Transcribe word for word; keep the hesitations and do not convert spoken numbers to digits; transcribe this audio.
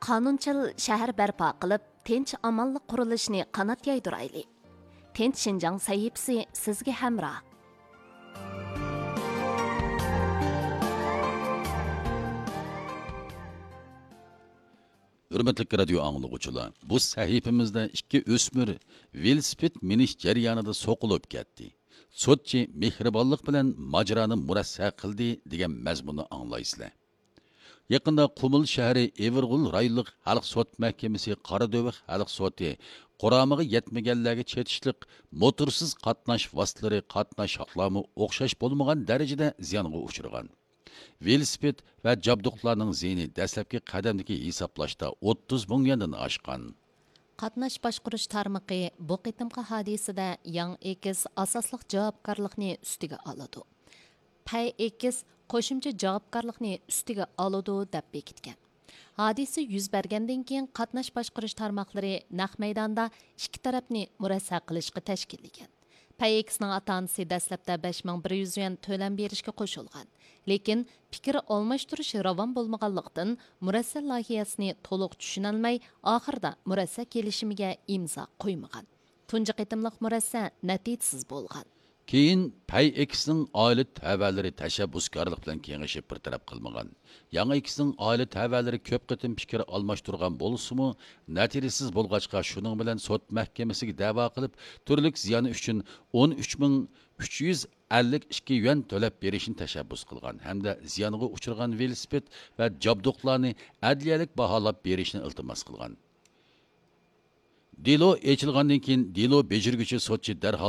قانۇنچىل شەھەر بەرپا قىلىپ، تىنچ-ئامانلىق قۇرۇلۇشىنى قانات يايدۇرايلى. تىنچ شىنجاڭ سەھىپىسى سىزگە ھەمراھ. ھۆرمەتلىك رادىيو ئاڭلىغۇچىلار، بۇ سەھىپىمىزدە ئىككى ئۆسمۈر ۋېلىسىپىت مىنىش جەريانىدا سوقۇلۇپ كەتتى. سوتچى مېھرىبانلىق بىلەن ماجىرانى مۇرەسسە قىلدى دېگەن مەزمۇننى ئاڭلايسىلەر. يېقىندا قۇمۇل شەھىرى ئېۋىرغول رايونلۇق خەلق سوت مەھكىمىسى قارادۆۋە خەلق سوتى قۇرامىغا يەتمىگەنلەرگە چېتىشلىق موتورسىز قاتناش ۋاسىتىلىرى قاتناش ھەقلىرىمۇ ئوخشاش بولمىغان دەرىجىدە زىيانغا ئۇچرىغان. ۋېلىسىپىت ۋە جابدۇقلارنىڭ زىيىنى دەسلەپكى قەدەمدىكى ھېسابلاشتا ئوتتۇز مىڭ يۈەندىن ئاشقان. قاتناش باشقۇرۇش تارمىقى بۇ قېتىمقى ھادىسىدە ياڭ ئېكس ئاساسلىق جاۋابكارلىقنى ئۈستىگە ئالىدۇ، پەي ئېكس قوشۇمچە جاۋابكارلىقنى ئۈستىگە ئالىدۇ، دەپ بېكىتكەن. ھادىسە يۈز بەرگەندىن كېيىن، قاتناش باشقۇرۇش تارماقلىرى نەق مەيداندا ئىككى تەرەپنى مۇرەسسە قىلىشقا تەشكىللىگەن. پەي ئېكسنىڭ ئاتا-ئانىسى دەسلەپتە بەش مىڭ بىر يۈز يۈەن تۆلەم بېرىشكە قوشۇلغان. لېكىن پىكىر ئالماشتۇرۇش راۋان بولمىغانلىقتىن، مۇرەسسە لايىھەسىنى تولۇق چۈشىنەلمەي، ئاخىرىدا مۇرەسسە كېلىشىمىگە ئىمزا قويمىغان. تۇنجى قېتىملىق مۇرەسسە نەتىجىسىز بولغان. كېيىن پەي ئېكسنىڭ ئائىلە تەۋەلىرى تەشەببۇسكارلىق بىلەن كېڭىشىپ بىر تەرەپ قىلمىغان. ياڭ ئېكسنىڭ ئائىلە تەۋەلىرى كۆپ قېتىم پىكىر ئالماشتۇرغان بولسىمۇ، نەتىجىسىز بولغاچقا، شۇنىڭ بىلەن سوت مەھكىمىسىگە دەۋا قىلىپ، تۈرلۈك زىيان ئۈچۈن ئون ئۈچ مىڭ ئۈچ يۈز ئەللىك ئىككى يۈەن تۆلەپ بېرىشنى تەشەببۇس قىلغان ھەمدە زىيانغا ئۇچرىغان ۋېلىسىپىت ۋە جابدۇقلارنى ئەدلىيەلىك باھالاپ بېرىشنى ئىلتىماس قىلغان. دېلو ئېچىلغاندىن كېيىن، دېلو بېجىرگۈچى سوتچى دەرھال